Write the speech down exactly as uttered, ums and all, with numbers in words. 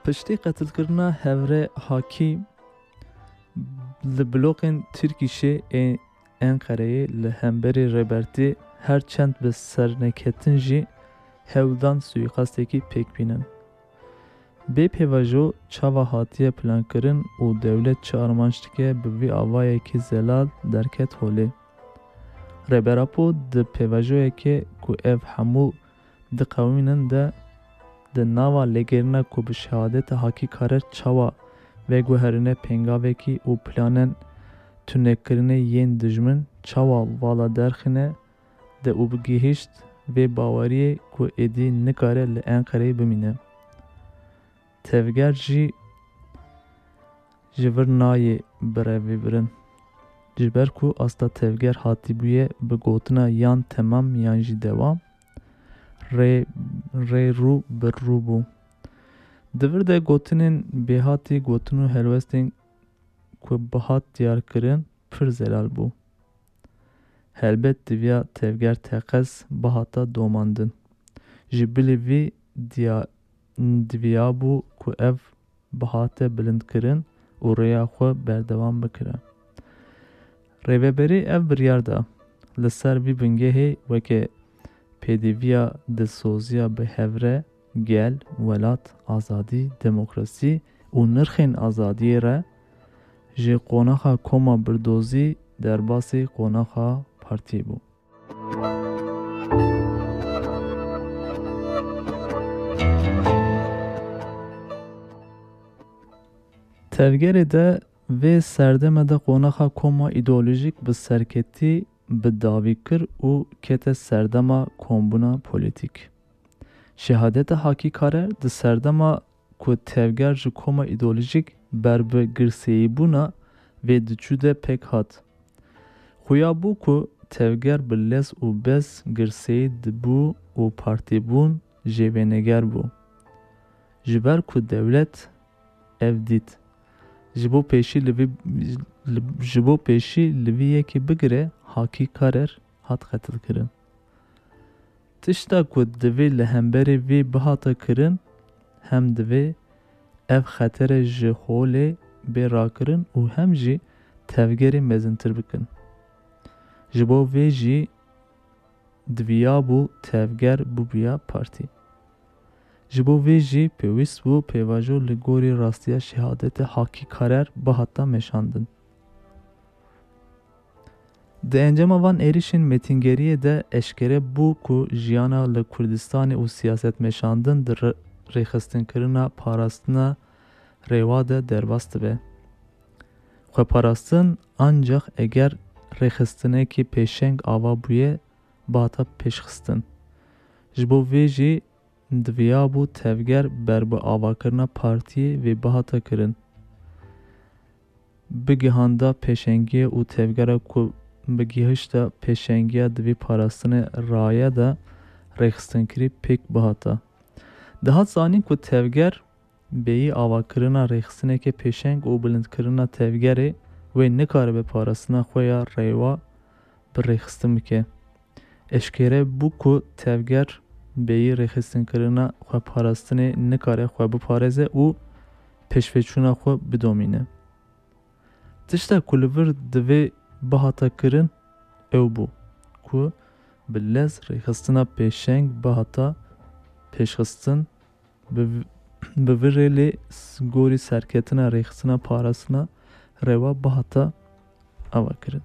Piştî qetilkirina Hevrê Hakî, li bloqên Tirkîşê ê Enqereyê li hemberî Rêbertî her çend bi serneketin jî hewl dan suîqastekî pêk bînin. Bê pêvajo çawa hatiye plankirin û dewlet çi armanc dike bi vî avayekî zelal derket holê. Rêber Apo di pêvajoyekê ku ev hemû diqewînin de di nava lêgerîna ku bi şehadeta Hakî Karer çawa veguherîne pengavekî û planên tunekirinê yên dijmin çawa vala derxîne de û bi gihişt vê baweriyê ku êdî nikare li Enqereyê bimîne. Tevger jî ji vir nayê birevîbirin. Ji ber ku asta tevger hatibûye bi gotina yan temam yan jî dewam, rê, rê rû bi rû bû. Di vir de gotinên bêhatî gotin û helwestên ku bihat diyarkirin pir zelal bû. Helbet diviya tevger teqez bihata domandin. Ji bilî vî diya, diviya bû ku ev bihate bilindkirin û rêya xwe berdewam bikire. Rêveberî ev biryar da. Li ser vî bingehê weke pêdiviya dilsoziya bi hevre, gel, welat, azadî, demokrasî û nirxên azadiyê re ji qonaxa koma birdozî derbasî qonaxa partiyê bû. Tevgerê de vê serdeme de qonaxa koma îdeolojîk bi serketî bi dawî kir û kete serdema kombûna polîtîk. Şehadeta Hakî Karer di serdema ku tevger ji koma îdeolojîk ber bi girseyîbûna vê diçû de pêk hat. Xuya bû ku tevger bi lez û bez girseyî dibû û partîbûn jêvêneger bû. Ji ber ku dewlet ev dît. Ji bo pêşî li vî, li, ji bo pêşî li vî yekê bigire Hakî Karer hat qetilkirin. Tişta ku divê li hemberî vî bihata kirin, hem divê ev xetere ji holê bê rakirin û hem jî tevgerê mezintir bikin. Ji bo vê jî diviyabû tevger bûbiya partî. Ji bo vê jî pêwîst bû pêvajo li gorî rastiya şehadetê Hakî Karer bihata meşandin. Di encama van êrişên mêtingeriyê de eşkere bû ku jiyana li Kurdistanê û siyaset meşandin di re-, rêxistinkirina parastina rêwa de derbas dibe. Xweparastin ancax eger rêxistinekî pêşeng ava bûye, bihata pêşxistin. Ji bo vê jî diviyabû tevger ber bi avakirina partiyê vê bihata kirin. Bigihanda pêşengiyê û tevgera ku bi gihişta pêşengiya di vî parastinê raye de rêxistinkirî pêk bihata. Dihat zanîn ku tevger bêyî avakirina rêxistineke pêşeng û bilindkirina tevgerê wê nikaribe parastina xwe ya rêwa bi rêxistin bike. Eşkere bû ku tevger bêyî rêxistinkirina xweparastinê nikare xwe biparêze û pêşveçûna xwe bidomîne. Tişta ku li vir divê bihata kirin ew bû ku bi lez rêxistina pêşeng bihata pêşxistin, bi, bi vî rêlê s-, gorî serketina rêxistina parastina rêwa bihata ava kirin.